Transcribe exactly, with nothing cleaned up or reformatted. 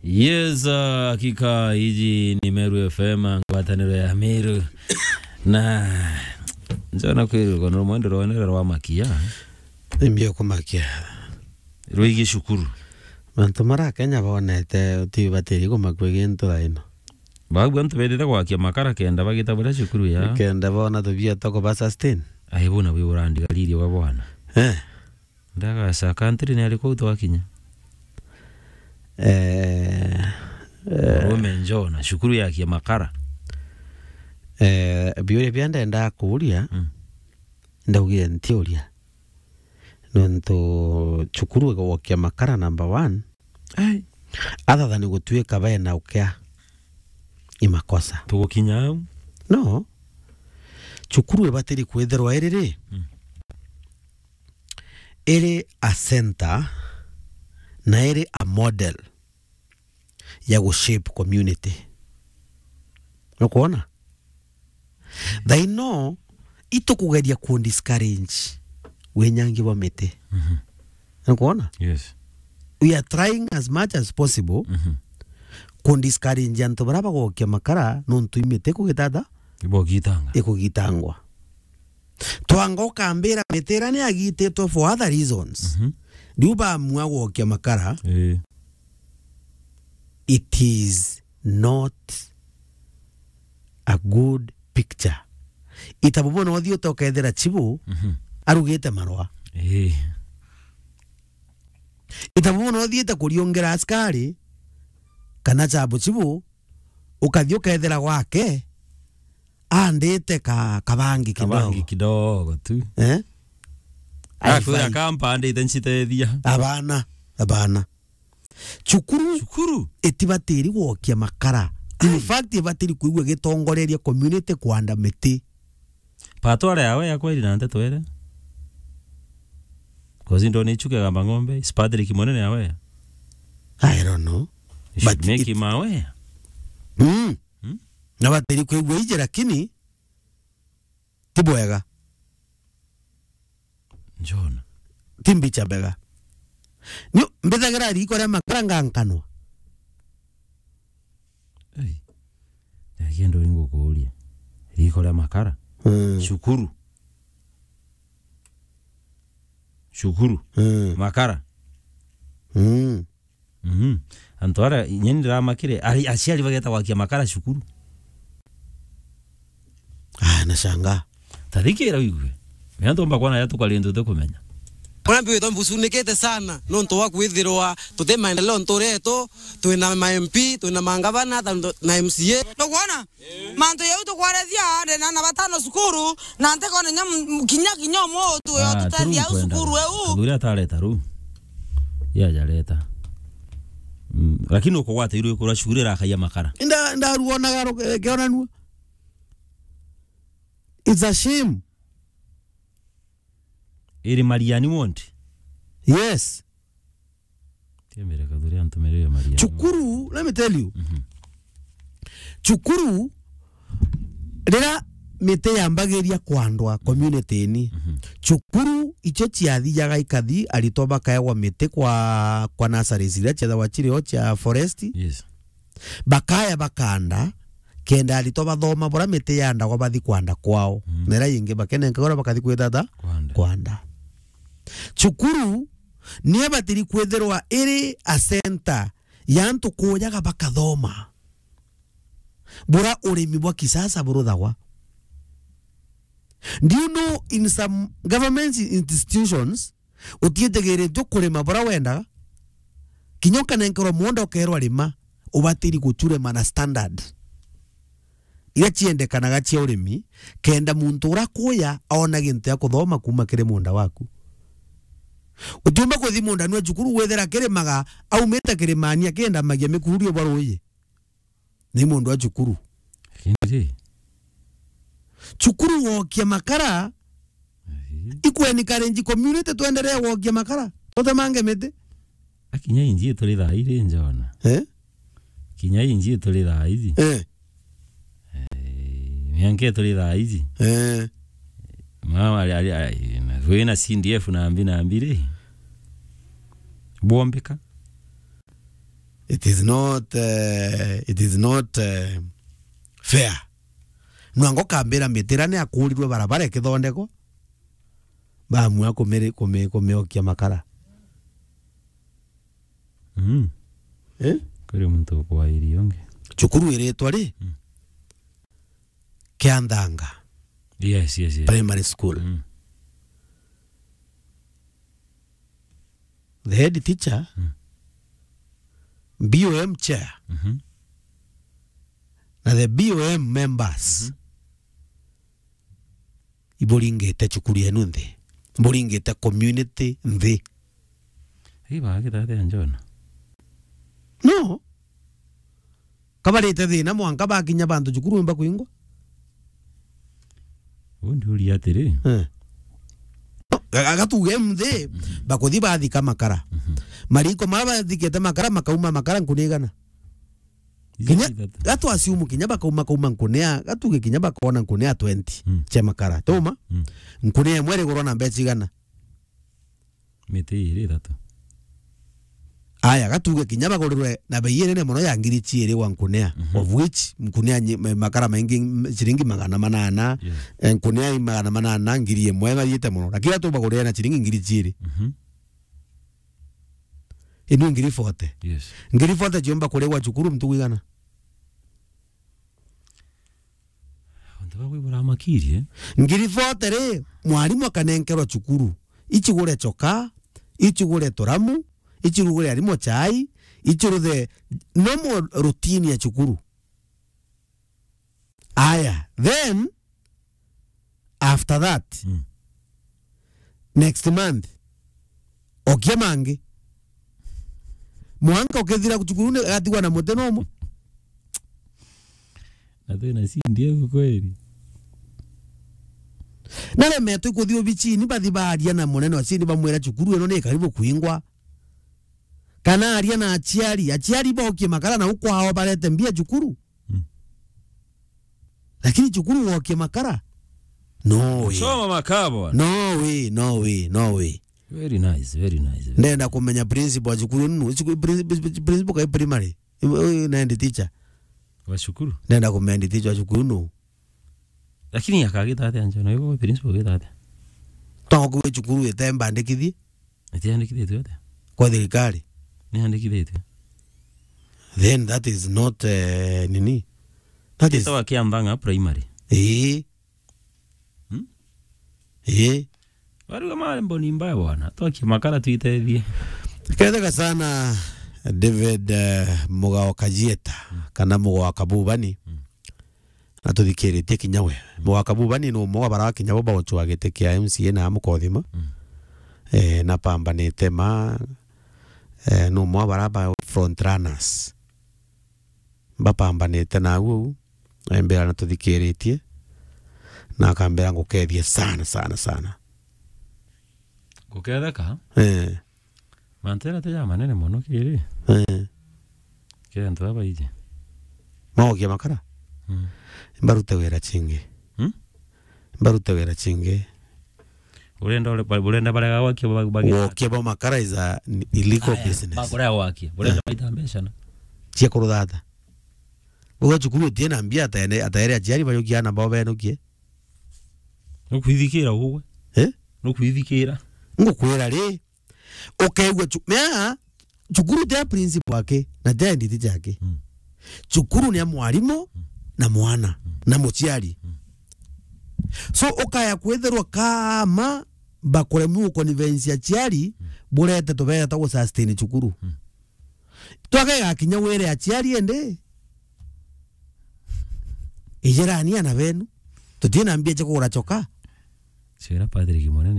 Yes, ah, hakika iji ni Meru F M, ngwataniro ya Meru. Na njona kwirwa kono mwendo rwonere rwa makia. Imbio kumakia. Rwigi cukuru. Mantu mara Kenya bonete, uti batiri kumakua gintu raino. Bagu antu bethite gwakia makara kenda bagita buria cukuru ya. Kenda bona tubia toko ba sustain. Ai, bona bwi urandigaririe wa bwana. Eh. Ndagaca country ni ari kuu twakinya. Eh, eh. Murume njona, cukuru yakia makara. Eh, biuria bia ndenda kuuria, Mm. ndaugire ntiuria. Nontu cukuru igwokia makara number one. Ai. Athathani gutuika bena ukea. Ni makosa. Tugukinya au? No. Cukuru ibatiri kwithirwa iri ri? Mm. Iri a center na iri a model ya gu shape community. Nukwona? Thaino, itukugeria ku discourage winyangi bwa miti. Mhm. Nukwona? Yes. We are trying as much as possible Mhm. ku discourage antu bara bagokia makara nontu imiti kugitata Ibogitanga. ikugitangwa. Twanga ukambira miti ira ni agititwe for other reasons. Mhm. Riu bamua gwokia makara. Eh. It is not a good picture. Itabu bona uthii utokethira chibu Mhm. arugite marwa. Eh. Itabu bona uthiite kuriongera askari kana chabu chibu, ukathi ukethira gwake andite ka, kabangi kidogo. Kabangi kidogo tu. Eh? Akwira Aifai. Kampa andite ncitethia. Abana, abana. Cukuru Cukuru? Itibatiri gwokia makara. In fact, ibatiri kwigua gitongoreria community kwanda miti. Patware yawe ya kweri na nteto ere. Kozi ndo ni chuke gamba ng'ombe, is Patrick Monene yawe. I don't know. You should But make it him aware. Mm. Hmm? Na batiri kwigua ije, lakini ti bwega. Njona. Ti mbicha mbega. Ni mbithagira riko ria makara ngankanwa. Ei. Lakini ndo ngukuria. Riko ria makara. Mm. Cukuru. Cukuru. Mm. Makara. Mm. Mhm. Antu ara, inya ni ndiramakire, ari, aciari bageta gwakia makara cukuru. Ah, nashanga. Tathikira wigue. Menya ntomba kuona ya tukari ntu tukumenya. Mwana mbi witwa mbucunikite sana, nontu wa kwithirwa tuti maendeleo nturetu, twina ma M P, twina mangavana, ta ndo-, na M C A. Nukwona? Mantu jau tukwarethia, ndina ana batano cukuru, na ntikona inya m-, kinya, kinya umwe utu yo Ah, tutethia au turukwenda cukuru eu. Kathuri atareta ru. Ya jareta. Mm, lakini ukugwata iru ikura cukuru irakaia makara. Inda, ndaruonaga ru-, eh, kionanua. It's a shame. Iri Mariani wonti? Yes. Tiembere kathuri antu meri ya Mariani. Cukuru, let me tell you. Mhm. Cukuru, rira miti yambagiria kwandwa community-ini, Mhm. cukuru icio ciathiaga ikathi, aritwa bakaegwa miti kwa, kwa nurseries iria ciethagwa ciri o cia forest. Yes. Bakaya bakanda, kenda aritwa bathoma bura miti yandagwa bathi kwanda kwao. Mm. Na iria ingi bakenenka uria bakathi kwithata Kwanda. kwanda. Cukuru ni ibatiri kwithirwa iri a center ya antu kujaga bakathoma. Bura urimi bwa kisasa buruthagwa. Do you know in some government institutions, utiitigiritwe kurima bura wendaga? Kinya ukanenkerwa munda ukerwa rima, ubatiri gucurema na standard iria ciendekanaga cia urimi, kenda muntu ura kuya aona gintu gia kuthoma kuma kiri munda waku. Utiumba kuthi munda nwe cukuru withira kirimaga, aumite kirimani akindamagia mikururi bwa ruuji. Ni mundu wa cukuru. Lakini ri? Cukuru wokia makara, Ai. Ikwencourage community twendelee gwokia makara. Tutemange miti. Akinya inji turi thaa iri njona. Eh? Kinya inji turi thaa iji. Eh. Eh, mianke turi thaa iji. Eh. Mama ari, ari, ari, na, wina C D F na mbi na mbiri. Bwombika. It is not, eh, it is not, eh, fair. Nwango kambira mitira ni akurirwe barabara ikithondekwa, bamua kumiri-, kumi-, kumiokia makara. Mm. Eh? Kuri muntu ukwairia ungi. Cukuru iritwa ri? Mm. Kianthanga. Yes, yes, yes. Primary school. Mm. The head teacher, mm, B O M chair, mhm, na the B O M members, mhm, iburingite cukuru yenu nthi. Buringite community nthi. Hii bagithathia njona. No. Kabarite thina mwanka bakinya bantu cukuru imba kwingwa. Undi uri atiri. Eh. Ga-, ga-, gatuge mthi, mhm, bakuthi bathika makara. Mhm. Mariko mara bathikite makara, makauma makara nkunigana. Kinya, ithatu. Gatu assume kinya bakauma, kauma nkunea, gatuge kinya bakona nkunea twenty, mm, cia makara. Tuma? Mm. Nkunea imwe irigurwa na mbeca igana? Miti iri ithatu. Aya, gatuge kinya bagurirwe na bei inene mono ya ngiri ciiri gwa nkunea, mhm, of which nkunea nyi-, ma-, makara maingi, m-, ciringi magana manana, yes, eh, nkunea i magana manana, ngiri imwe, bathiite mono. Lakini atu bagurire na ciringi ngiri ciiri. Mhm. Inu ngiri forty. Yes. Ngiri forty ciumba kurigwa cukuru mtu kwigana? Antu ba kwibura makirie. Ngiri forty ri, mwarimu akanenkerwa cukuru. Icigure choka, icigure turamu, icirugure arimu chai, iciruthe normal routine ya cukuru. Aya, then, after that, mm, next month, okia mangi. Mwanka ukithira cukuru ni agatigwa na muti nomo. Na twina cindi au kweli. Naremetwe kuthi obichini, bathi baaria na munene wa cindi, bamwira cukuru ino ni karibu kuingwa. Kana aria na aciari, aciari bokie makara na ukwao barete mbia cukuru. Mm. Lakini cukuru wokie makara? No way. Choma makabwa. No way, no way, no way. Very nice, very nice, very nice. Ndenda kumenya principal wa cukuru ino. Cukuru, princi-, princi-, principal kai primary? Uyu ni head teacher. Wa cukuru? Ndenda kumenya head teacher wa cukuru ino. Lakini akagita atia njona? Yuko principal agita atia? Tongo kwi cukuru itembandikithie. Itiandikithitue atia? Kwa thirikari. Niandikithitue. Then that is not, eh, nini? That is Itawa Kiambanga Primary. Ii. Hmm? Ii. Bariuga mari mboni mbaya bwana. Twakie makara twitethie. Ketheka sana David, eh, Mugao Kajieta, mm, kana Mugao Kabubani. Mm. Na tuthikiritie kinya we. Mm. Mugao Kabubani ni umwe wa bara kinya bo bauchwa giti kia M C A na amukothima. Mm. Eh, na pambanite ma, eh, ni umwe wa bara ba front runners. Bapambanite na au, embera na tuthikiritie, na akambera ngukethie sana, sana, sana. Guketheka? Eh. Mantu jaria ti ja manene mono kiri. Eh. Kiri antu baba iji. Maokia makara? Mm. Mbarute wira chingi. Hmm? Mbarute wira chingi. Urenda ure-, ba-, urenda barega gwakia ba-, ba-, Gwokia bwa makara is a n-, illegal business. Aya, bakurega gwakia. Urenda, eh, baita mbeca na? Cia kuruthata. Uga cukuru utie na mbia ataene-, ataere aciari bajukia ana bao benukie. Nukwithikira ugwe? Eh? Nukwithikira? Ngukwira ri, ukaigua cu-, mea, cukuru ti ya principal ake, na ti ya nditi ciake. Mm. Cukuru ni ya mwarimu, mm, na mwana, mm, na muciari. Mm. So, ukaya kwithirwa kama bakuremwa guconvince aciari, mm, burete tubere twa gusustain cukuru. Mm. Twakega kinya wire aciari ende. Ijirani ana benu. Tutina mbia cia kugura choka. Cira Patrick Munene